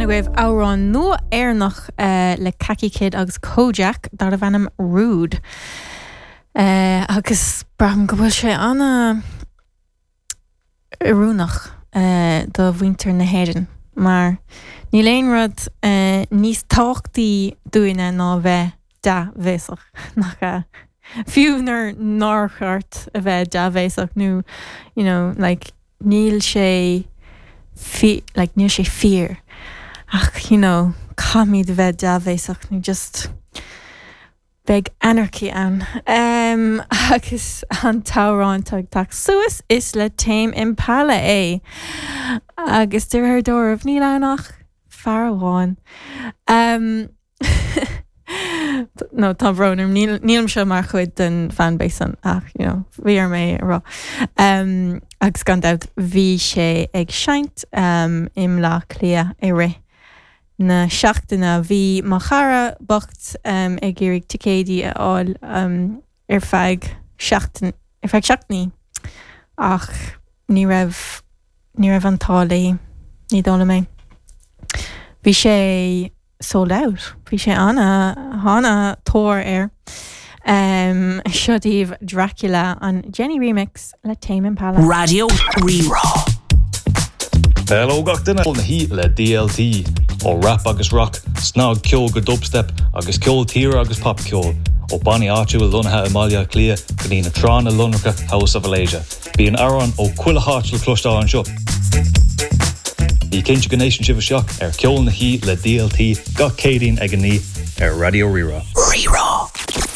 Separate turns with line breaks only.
agaibh amhrán nua Éireannach le Khaki Kid agus Kojaque darbh ainm Rude. Agus braithim go bhfuil sé ana oiriúnach do mhuintir na hÉireann mar níl aon rud níos tábhachtaí dúinne ná a bheith dea-bhéasach, nach ea? Fiú nuair nár cheart a bheith dea-bhéasach nó you know like níl sé like níl sé fíor ach you know caithfimid a bheith dea-bhéasach nó just beidh anarchy ann. Um, agus an t-amhrán atá ag teacht suas is le Tame Impala é. Agus de réir dealraimh níl ann ach fear amháin. Um, No, tá brón orm, níl, nílimse mar chuid den fanbase san ach, you know, bhí orm é a rá. Um, agus gan dabht bhí sé ag seinnt um, i mBleá Cliath i rith na seachtaine. Bhí mo chara bocht um, ag iarraidh ticéidí a fháil um, ar feadh seachtain, ar feadh seachtainí ach ní raibh, ní raibh an t-ádh léi, ní dóigh liom é. Bhí sé sold out, bhí sé ana, ana-tóir air. Um, seo daoibh Dracula, an Jenny Remix le Tame Impala.
Raidió Rí-Rá.
Hello gach duine! Na hí le DLT, ó rap agus rock, snagcheol go dubstep agus ceol tíre agus popcheol, ó bannaí áitiúil lonnaithe i mBaile Átha Cliath go dtí na tránna lonracha House of Alasia. Bíonn amhráin ó chuile háit le cloisteáil anseo. Bí cinnte go n-éisteann sibh isteach ar Ceol na hÍ le DLT gach Céadaoin ag a 9 ar Raidió Rí-Rá.
Rí-Rá.